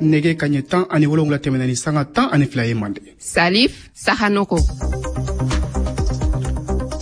Nɛgɛ kaɲɛ 17 tɛmɛna ni sanga 12 ye Mande. Salif Sahanoko.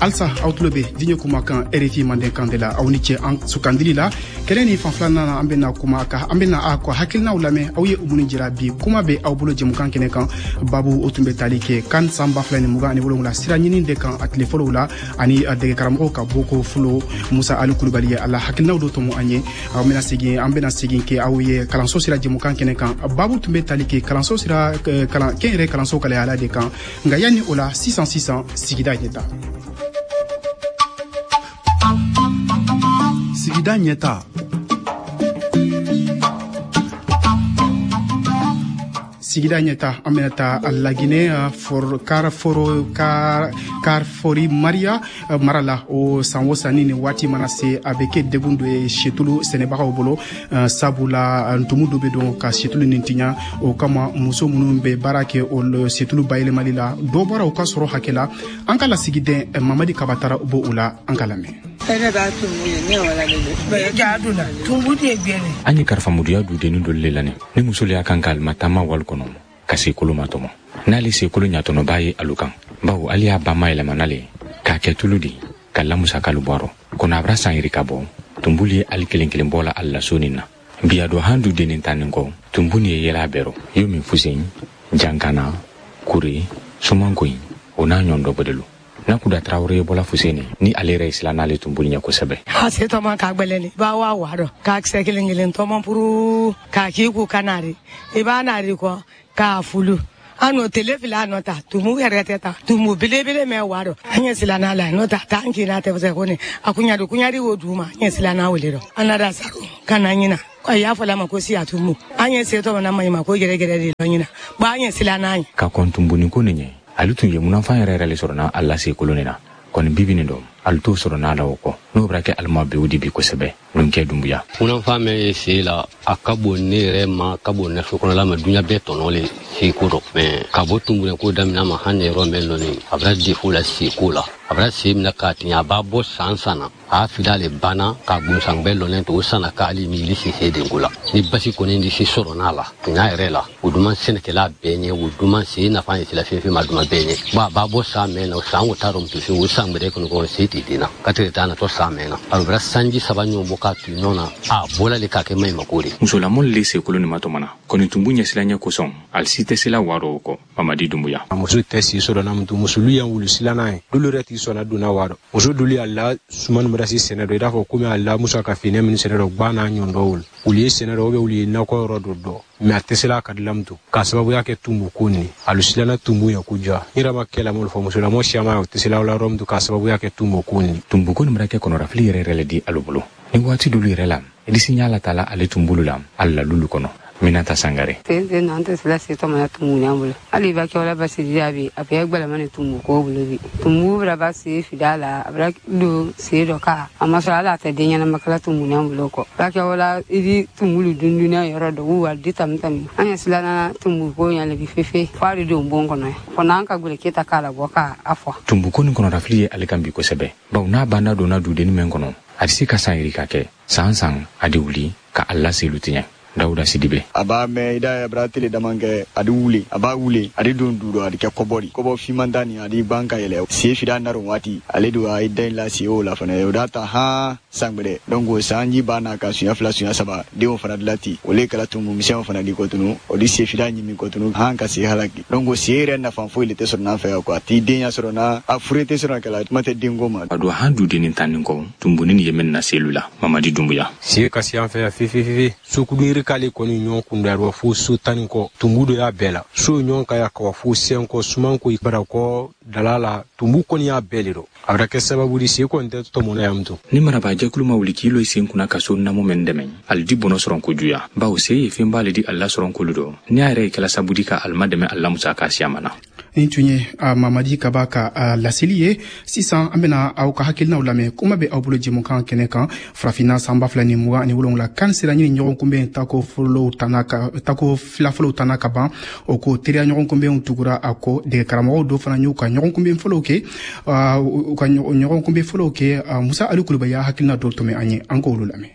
Alsa aw tulo bɛ diɲɛ kumakan RFI Mandenkan de la, aw ni ce an sugandili la. Kɛnɛ ni fan filanan na, an bɛna kuma ka an bɛna a ka hakilinaw lamɛn. Aw ye minnu jira bi kuma bɛ aw bolo jɛmukan kɛnɛ kan, babu o tun bɛ tali kɛ CAN san 2027 sira ɲini de kan a tile fɔlɔw la, ani dɛgɛkaramɔgɔw ka bɔko fɔlɔ. Musa Ali Kulubali ye a la hakilinaw dɔ tɔmɔ an ye. Aw bɛna segin, an bɛna segin kɛ aw ye kalanso sira jɛmukan kɛnɛ kan, babu tun bɛ tali kɛ kalanso sira kalan kɛnyɛrɛ kalanso kalayala de kan. Nka yanni o la, sisan sisan, sigida ɲɛta. Sigida ɲɛta. Sigida ɲɛta, an bɛna taa Laginɛ, Karfori Maria mara la. O san o san, ni nin waati mana se, a bɛ kɛ degun dɔ ye situlu sɛnɛbagaw bolo, sabula ntumu dɔ bɛ don ka situlu nin tiɲɛ. O kama, muso minnu bɛ baara kɛ o situlu bayɛlɛmali la, dɔ bɔra u ka sɔrɔ hakɛ la. An ka lasigiden Mamadi Kabatara b'o o la, an ka lamɛn. An ye karifamuduya dudennin dɔ le lani ni muso le y'a kan ka alimatama wali kɔnɔ ka sekolo ma tɔmɔ n'ale sekolo ɲatɔnɔba ye alu kan, bawo ale y'a ba mayɛlɛma n'ale k'a kɛ tulu di ka lamusakalu bɔ a rɔ kɔnɔ. A bara san yirika bɔ, tunbulu ye ali kelen kelen bɔ la ali la so nin na bi. A don han dudennin tannin kɔ, tunbu nin ye yɛlɛ a bɛɛ rɔ yo min fusen jankana kure sumankoyi o n'a ɲɔgɔn dɔ bɔdelu. Nakuda Tarawele ye bɔla Fuseni ni ale yɛrɛ ye sila n'ale tunbulu ɲɛ kosɛbɛ. A se tɔmɔ k'a gbɛlɛni, i b'a wa wa dɔ k'a kisɛ kelen kelen tɔmɔ puru k'a k'i ku ka nari, i b'a nari kɔ k'a fulu an n'o tele fila nɔ ta tumu yɛrɛ tɛ ta tumu belebele mɛ wa dɔ. An ɲɛ sila n'a la n'o ta t'an k'i n'a tɛ fɛ ko ni a kunyadi kunyadi wo du ma, an ɲɛ sila n'a wele dɔ an nada saro ka na ɲina a y'a fɔ la ma ko siya tumu. An ɲɛ se tɔmɔ na maɲuman ko gɛrɛgɛrɛ de lɔ ɲina ba, an ɲɛ sila n'a ye. Ka kɔn tunbuni ko nin ɲɛ, ale tun ye munafan yɛrɛ yɛrɛ le sɔrɔ n'a lase koloni na kɔni bibi nin dɔn ale t'o sɔrɔ n'a la o kɔ n'o bɛra kɛ alima bew di bi kosɛbɛ nunkɛ Dunbuya. Munafan min ye sen la, a ka bon ne yɛrɛ ma, ka bon ne so kɔnɔla ma, duɲa bɛɛ tɔnɔ le seko dɔ mɛ ka bɔ tunbunɛ ko daminɛ ma hali yɔrɔ mɛn lɔni a bɛra defo la seko la. A bɛra sen minɛ k'a tiɲɛ, a b'a bɔ san san na a fila le banna ka gunsan bɛɛ lɔnnen to o sanna k'ale miiri sise denko la ni basi kɔni di se sɔrɔ n'a la tiɲɛ yɛrɛ la. O duman sɛnɛkɛla bɛɛ ɲɛ, o duman sen nafa ye sila fɛn fɛn ma duman bɛɛ ɲɛ ba a b'a bɔ san mɛn na o san o t'a dɔn muso o san gbɛrɛ kɔnɔ kɔnɔ se tɛ den na ka tigɛ taa natɔ san mɛn na a bɛra sanji saba ɲɔgɔn bɔ k'a tu ɲɔgɔn na a bɔla le k'a kɛ maɲumako de. Musolamɔli le sekolo nin ma tɔmɔna kɔni tunbu ɲɛsiranɲɛ kosɔn ali si tɛ sela wa dɔ o kɔ. Mamadi Dunbuya. Muso tɛ si sɔrɔ na mutu musolu yan wulu silanna ye dolu yɛrɛ t'i sɔnna donna wa dɔ muso dolu y'a la sumani bɛra si sɛnɛ dɔ i n'a fɔ komi a la musa ka fini minnu sɛnɛ dɔ gba n'a ɲɔgɔn dɔw olu ye sɛnɛ dɔ olu ye nakɔ yɔrɔ dɔ dɔn mɛ a tɛ se la ka dilan to k'a sababuya kɛ tumbu ko nin alu silanna tumbu ye ko ja n yɛrɛ ma kɛlɛ m'olu fɔ musolamɔ siyaman o tɛ se la yɔrɔ min to k'a sababuya kɛ tumbu ko nin. Tumbu ko nin bɛra kɛ kɔnɔrafili yɛrɛ yɛrɛ le di alu bolo ni waati dolu yɛrɛ la idisi ɲa la tala ale tumbulu la ali la lulu kɔnɔ. Minata Sangare. Sen sen na an tɛ sila se tɔmɔ na tumu ɲan bolo hali i b'a kɛ wala basi jaabi a bɛɛ gbɛlɛma ni tumu ko bolo bi tumu bɛra ba se fida la a bɛra don se dɔ ka a ma sɔrɔ hali a tɛ den ɲɛnama kala tumu ɲan bolo kɔ b'a kɛ wala i di tumulu dundunya yɔrɔ dɔ wa di tami tami an ɲɛ silana tumu ko ɲan le bi fefe fo a de don bon kɔnɔ fo n'an ka gbɛlɛ keta k'a labɔ k'a fɔ. Tumbu ko nin kɔnɔrafili ye ale kan bi kosɛbɛ bawo n'a banda donna dudennin mɛn kɔnɔ a tɛ se ka san yirika kɛ san san a de wuli ka a laselu tiɲɛ. Dawuda Sidibe. A b'a mɛn i da bara tele dama kɛ a di wuli a b'a wuli a di don du dɔ a di kɛ kɔbɔ di kɔbɔ finman da nin a di ban ka yɛlɛ sen fida naro waati ale don a ye da in la sen o la fana o da ta han san gbɛrɛ donc o sanji b'a n'a ka sunya fila sunya saba denw fana dilan ten o le kɛra tumu misɛnw fana di kɔtunu o di sen fida ɲimi kɔtunu han ka sen halaki donc o sen yɛrɛ nafa foyi le tɛ sɔrɔ n'an fɛ yan quoi a t'i den ya sɔrɔ na a fure tɛ sɔrɔ kɛla kuma tɛ denko ma. A don han dudennin tan nin kɔ tumbunin ye min na selu la. Mamadi Dunbuya. Se ka se an fɛ yan fefefefe sokudun yiri k'ale kɔni ɲɔgɔn kunda yɔrɔ fo so tan ni kɔ tumbu dɔ y'a bɛɛ la so ɲɔgɔn ka ya kawa fo sen kɔ suman ko barakɔ dala la tumbu kɔni y'a bɛɛ le dɔ a bɛra kɛ sababu di se kɔni tɛ tɔmɔnɔ yan to. Ni marabaa ma wuli k'i lo i sen kunna ka so namu mɛn dɛmɛ ali di bɔnɔ sɔrɔ kojuya bawo se ye fɛnba le di ali la sɔrɔ kolu dɔ ni a yɛrɛ ye kɛla sabu di ka alima dɛmɛ ali la musaka siyaman na. Nin tun ye Mamadi Kaba ka laseli ye. Sisan an bɛna aw ka hakilinaw lamɛn. Kuma bɛ aw bolo jɛmukan kɛnɛ kan, Farafinna san 2027 CAN sira ɲini ɲɔgɔn kunbɛn tako fɔlɔw tana ka tako fila fɔlɔw tana ka ban. O ko teriya ɲɔgɔn kunbɛnw tugura a kɔ, dege karamɔgɔw dɔ fana y'u ka ɲɔgɔn kunbɛn fɔlɔw kɛ u ka ɲɔgɔn kunbɛn fɔlɔw kɛ. Musa Ali Kulubali y'a hakilina dɔw tɔmɛ an ye, an k'olu lamɛn.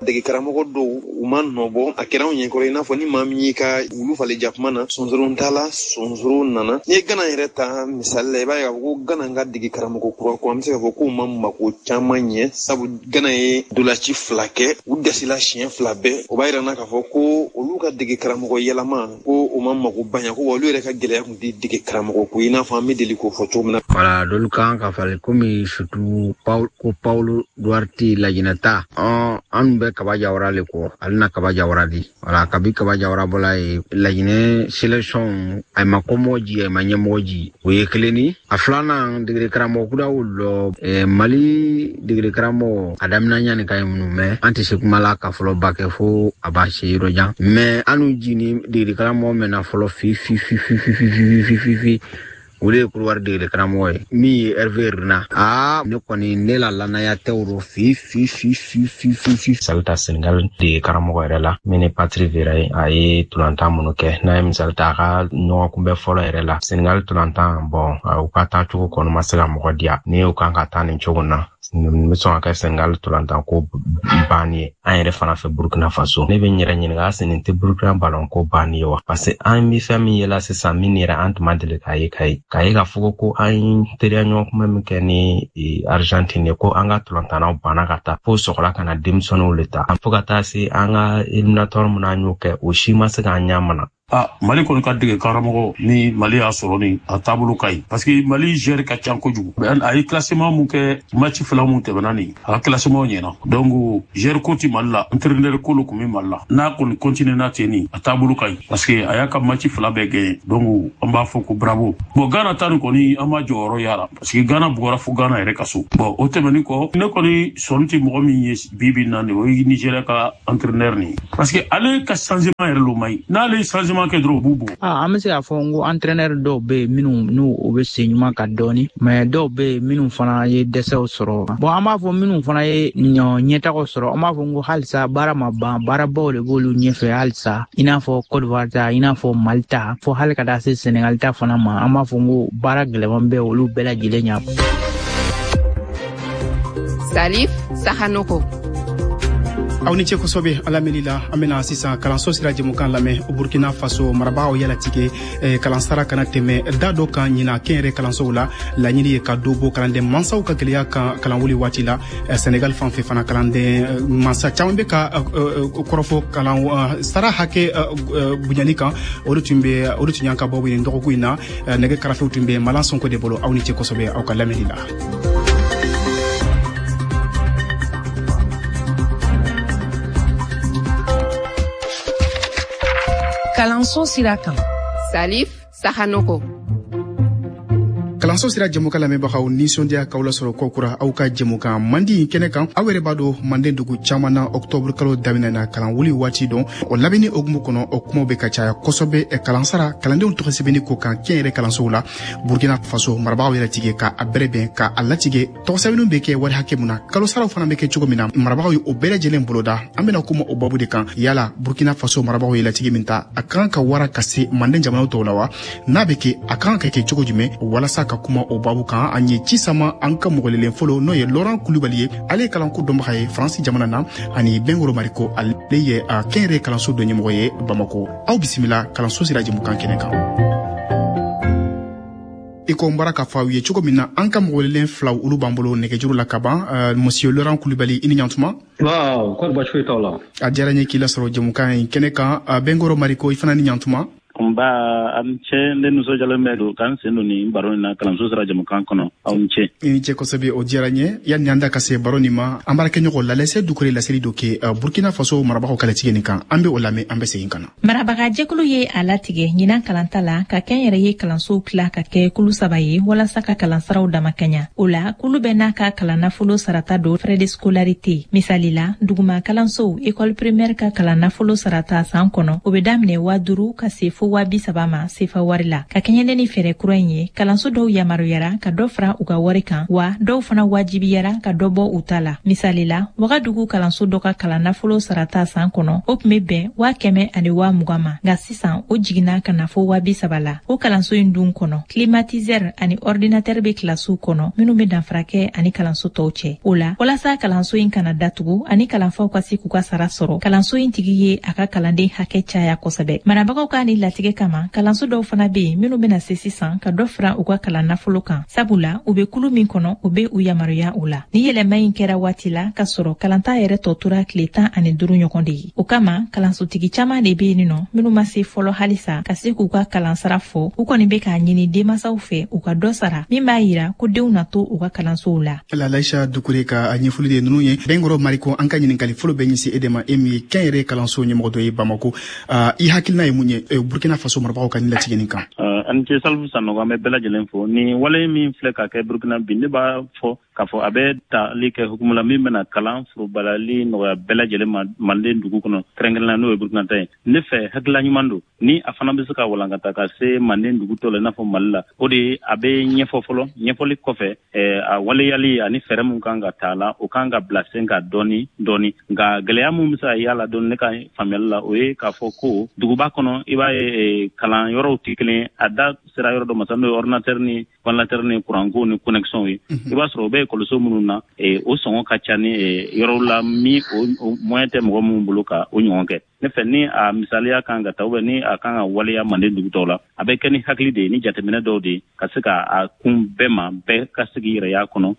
Dege karamɔgɔ dɔw u ma nɔbɔ, a kɛra anw ɲɛkɔrɔ i n'a fɔ ni maa min y'i ka wulu falen jakuma na, sonsoro t'a la, sonsoro nana. N'i ye Gana yɛrɛ ta misali la, i b'a ye k'a fɔ ko Gana ka dege karamɔgɔ kura ko an bɛ se k'a fɔ k'u ma mako caman ɲɛ, sabu Gana ye dolaci 2 kɛ, u dɛsɛla siɲɛ 2 bɛɛ. O b'a yira n na k'a fɔ ko olu ka dege karamɔgɔ yɛlɛma ko o ma mako ba ɲɛ, ko olu yɛrɛ ka gɛlɛya tun tɛ dege karamɔgɔ ko i n'a fɔ an bɛ deli k'o fɔ cogo min na. Wala dolu kan ka falen komi surtout ko Paulo Duarte Lajinɛ ta, an bɛ Kaba Jawara le kɔ, ale na Kaba Jawara di. Wala kabi Kaba Jawara bɔla ye Lajinɛ sélection a ma kɔmɔgɔ ji, a ma ɲɛmɔgɔ ji, o ye kelen ni. A filanan degere karamɔgɔ kura wolo Mali degere karamɔgɔ a daminɛ ɲani ka ye minnu mɛ an tɛ se kuma la ka fɔlɔ ba kɛ fo a b'a se yɔrɔ jan, mɛ an n'u ji ni degere karamɔgɔ mɛnna fɔlɔ fi fi fi fi fi fi fi fi fi fi, o de ye Kodiwari degere karamɔgɔ ye min ye Hervé Renard. Ne kɔni ne la lanaya tɛ o rɔ fi fi fi fi fi fi fi. Misali ta Senegal dege karamɔgɔ yɛrɛ la min ye Patrick Vieira ye, a ye tolantan minnu kɛ, n'a ye misali ta a ka ɲɔgɔn kunbɛ fɔlɔ yɛrɛ la Senegal tolantan, bɔn u ka taa cogo kɔni ma se ka mɔgɔ diya. Ni u kan ka taa nin cogo na, nin bɛ sɔn ka kɛ Senegal tolantan ko banni ye. An yɛrɛ fana fɛ Burkina Faso, ne bɛ n yɛrɛ ɲininka, est-ce nin tɛ Burkina ballon ko banni ye wa? Parce que an bɛ fɛn min yela sisan min yɛrɛ an tun ma deli k'a ye k'a ye k'a fɔ ko an ye teriya ɲɔgɔn kunbɛ min kɛ ni Argentine ye, ko an ka tolantannaw banna ka taa fo sɔgɔla ka na denmisɛnninw le ta, fo ka taa se an ka éliminatoire min an y'o kɛ, o si ma se k'an ɲɛ mana. Mali kɔni ka dege karamɔgɔ ni Mali y'a sɔrɔ ni a taabolo ka ɲi, parce que Mali gère ka ca kojugu. A ye classement mun kɛ match 2 mun tɛmɛna nin, a ka classement ɲɛna. Donc gère ko ti Mali la, entraîneur ko lo kun bɛ Mali la. N'a kɔni continue n'a ten nin, a taabolo ka ɲi, parce que a y'a ka match 2 bɛɛ gagné. Donc an b'a fɔ ko bravo. Bon, Ghana ta nin kɔni an b'a jɔyɔrɔ yara, parce que Ghana bugɔra fo Ghana yɛrɛ ka so. Bon, o tɛmɛnen kɔ, ne kɔni sɔnni tɛ mɔgɔ min ye bi bi in na nin, o ye Nigeria ka entraîneur nin, parce que ale ka changement yɛrɛ lo man ɲi. N'ale ye changement kɛ dɔrɔn, u b'u bugɔ. An bɛ se k'a fɔ n ko entraîneur dɔw bɛ yen minnu n'u o bɛ sen ɲuman kan dɔɔni, mais dɔw bɛ yen minnu fana ye dɛsɛw sɔrɔ. Bon, an b'a fɔ minnu fana ye ɲɛtagaw sɔrɔ, an b'a fɔ n ko halisa baara ma ban, baarabaw de b'olu ɲɛfɛ halisa, i n'a fɔ Côte d'Ivoire ta, i n'a fɔ Mali ta, fo hali ka taa se Sénégal ta fana ma. An b'a fɔ n ko baara gɛlɛman bɛ olu bɛɛ lajɛlen ɲɛ. Salif Sahanoko. Aw ni ce kosɛbɛ a lamɛnni la. An bɛna sisan kalanso sira jɛmukan lamɛn. Burkina Faso marabagaw yalatigɛ kalansara kana tɛmɛ da dɔ kan ɲina kɛnyɛrɛ kalansow la. Laɲini ye ka dɔ bɔ kalanden mansaw ka gɛlɛya kan kalanwuli waati la. Senegal fan fɛ fana, kalanden mansa caman bɛ ka kɔrɔfɔ kalan sara hakɛ bonyali kan. O de tun bɛ, o de tun y'an ka bɔ nin dɔgɔkun in na. Nɛgɛ karafew tun bɛ Malan Sonko de bolo. Aw ni ce kosɛbɛ aw ka lamɛnni la. Kalanso sira kan. Salif Sahanoko. Kalanso sira jɛmukan lamɛnbagaw, nisɔndiya k'aw lasɔrɔ kokura aw ka jɛmukan mandi kɛnɛ kan. Aw yɛrɛ b'a dɔn, manden dugu caman na, ɔktɔburu kalo daminɛ na kalan wuli waati dɔn, o labɛnni hokumu kɔnɔ, o kumaw bɛ ka caya kosɛbɛ kalansara kalandenw tɔgɔ sɛbɛnni ko kan kɛnyɛrɛ kalansow la. Burkina Faso marabagaw yɛrɛ tigɛ ka a bɛrɛ bɛn ka a latigɛ tɔgɔ sɛbɛnniw bɛ kɛ wari hakɛ mun na, kalosaraw fana bɛ kɛ cogo min na, marabagaw ye o bɛɛ lajɛlen boloda. An bɛna kuma o babu de kan. Yala Burkina Faso marabagaw ye latigɛ min ta, a kan ka wara ka se manden jamanaw tɔw la wa? N'a bɛ kɛ, a kan ka kɛ cogo jumɛn? Walasa ka kuma o babu kan, an ye ci sama an ka mɔgɔlelen fɔlɔ, n'o ye Laurent Kulubali ye. Ale ye kalanko dɔnbaga ye Faransi jamana na, ani Bɛnkoro Mariko, ale ye kɛnyɛrɛ kalanso dɔ ɲɛmɔgɔ ye Bamako. Aw bisimila kalanso sira jɛmukan kɛnɛ kan. I ko n bɔra k'a fɔ aw ye cogo min na, an ka mɔgɔlelen filaw olu b'an bolo nɛgɛjuru la ka ban. Monsieur Laurent Kulubali, i ni ɲantuma. Waaw, kɔri baasi foyi t'aw la. A diyara n ye k'i lasɔrɔ jɛmukan in kɛnɛ kan. Bɛnkoro Mariko, i fana ni ɲantuma. Nba, a ni ce, ne nisɔndiyalen bɛ don k'an sen don nin baro in na kalanso sira jɛmukan kɔnɔ. Aw ni ce. I ni ce kosɛbɛ, o diyara n ye. Yanni an da ka se baro nin ma, an baarakɛɲɔgɔn Lalɛsɛ Dukure laseli dɔ kɛ Burkina Faso marabagaw ka latigɛ nin kan. An bɛ o lamɛn, an bɛ segin ka na. Marabagajɛkulu ye a latigɛ ɲinan kalanta la ka kɛnyɛrɛye kalansow tila ka kɛ kulu 3 ye walasa ka kalansaraw damakɛɲa. O la, kulu bɛɛ n'a ka kalan nafolo sarata don, frais de scolarité. Misali la, duguma kalansow, école primaire, ka kalan nafolo sarata san kɔnɔ, o bɛ daminɛ 5000 ka se fo fo 30 000 ma sefa wari la. Ka kɛɲɛ ni fɛɛrɛ kura in ye, kalanso dɔw yamaruyara ka dɔ fara u ka wari kan, wa dɔw fana wajibiyara ka dɔ bɔ u ta la. Misali la, Wagadugu kalanso dɔ ka kalan nafolo sarata san kɔnɔ, o tun bɛ bɛn 120 000 ma, nka sisan o jiginna ka na fo 30 000 la. O kalanso in dun kɔnɔ, climatiseur ani ordinateur bɛ kilasiw kɔnɔ minnu bɛ danfara kɛ ani kalanso tɔw cɛ. O la, walasa kalanso in kana datugu ani kalanfaw ka se k'u ka sara sɔrɔ, kalanso in tigi ye a ka kalanden hakɛ caya kosɛbɛ. Marabagaw ka nin latigɛ kama, kalanso dɔw fana bɛ yen minnu bɛna se sisan ka dɔ fara u ka kalan nafolo kan, sabula u bɛ kulu min kɔnɔ, o bɛ u yamaruya o la. Ni yɛlɛma in kɛra waati la ka sɔrɔ kalanta yɛrɛ tɔ tora tile 15 ɲɔgɔn de ye. O kama, kalansotigi caman de bɛ yen nɔ minnu ma se fɔlɔ halisa ka se k'u ka kalansara fɔ. U kɔni bɛ k'a ɲini denmansaw fɛ u ka dɔ sara min b'a yira ko denw na to u ka kalansow la. Laisha Dukure ka ɲɛfɔli de ninnu ye. Bɛnkɔrɔ Mariko, an ka ɲininkali fɔlɔ bɛ ɲɛsin e de ma, e min ye kɛnyɛrɛye kalanso ɲɛmɔgɔ dɔ ye Bamako. I hakilina ye mun ye Burkina Faso marabagaw ka nin latigɛ nin kan? Ani ce, Salifu Sanogo. An bɛ bɛɛ lajɛlen fo. Ni wale min filɛ ka kɛ Burkina bi, ne b'a fɔ k'a fɔ a bɛ tali kɛ hukumu la min bɛna kalan forobalali nɔgɔya bɛɛ lajɛlen ma Manden dugu kɔnɔ, kɛrɛnkɛrɛnnenya n'o ye Burkina ta ye. Ne fɛ, hakilila ɲuman don ni a fana bɛ se ka walankata ka se Manden dugu tɔ la, i n'a fɔ Mali la. O de ye, a bɛ ɲɛfɔ fɔlɔ. Ɲɛfɔli kɔfɛ, a waleyali ani fɛɛrɛ min kan ka ta la, o kan ka bila sen ka dɔɔni dɔɔni. Nka gɛlɛya min bɛ se ka y'a la dɔɔni, ne ka faamuyali la, o ye k'a fɔ ko duguba kɔnɔ, i b'a ye kalan yɔrɔw tɛ kelen. A da sera yɔrɔ dɔ ma sisan, n'o ye ordinateur ni ventilateur ni kuranko ni connexion ye. I b'a sɔrɔ o bɛ ekɔliso minnu na, o sɔngɔ ka ca ni yɔrɔw la min o moyen tɛ mɔgɔ minnu bolo ka o ɲɔgɔn kɛ. Ne fɛ, ni a misaliya kan ka ta ou ni a kan ka waleya Manden dugu tɔw la, a bɛ kɛ ni hakili de ye, ni jateminɛ dɔw de ye, ka se ka a kun bɛɛ ma, bɛɛ ka se k'i yɛrɛ y'a kɔnɔ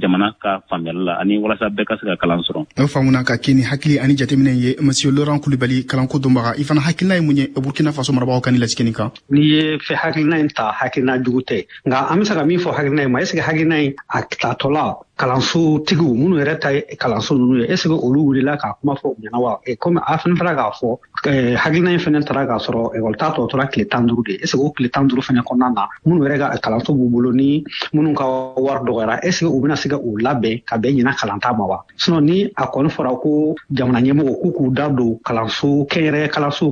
jamana ka faamuyali la, ani walasa bɛɛ ka se ka kalan sɔrɔ. O faamuna, ka kɛ ni hakili ani jateminɛ ye. Monsieur Laurent Kulibali, kalanko dɔnbaga, i fana hakilina ye mun ye Burkina Faso marabagaw ka ni latigɛ nin kan? N'i ye fɛ hakilina in ta, hakilina jugu tɛ, nka an bɛ se ka min fɔ hakilina in ma, est ce que hakilina in a tatɔla, kalansotigiw minnu yɛrɛ ta ye kalanso ninnu ye, est ce que olu wulila k'a kuma fɔ u ɲɛna wa? Komi a fana taara k'a fɔ hakilina in fana taara k'a sɔrɔ ekɔli ta tɔ tora tile 15 de, est ce que o tile 15 fana kɔnɔna na, minnu yɛrɛ ka kalanso b'u bolo ni minnu ka wari dɔgɔyara, est ce que u bɛna se ka u labɛn ka bɛn ɲinan kalanta ma wa? Sinon, ni a kɔni fɔra ko jamana ɲɛmɔgɔ k'u k'u da don kalanso, kɛnyɛrɛye kalanso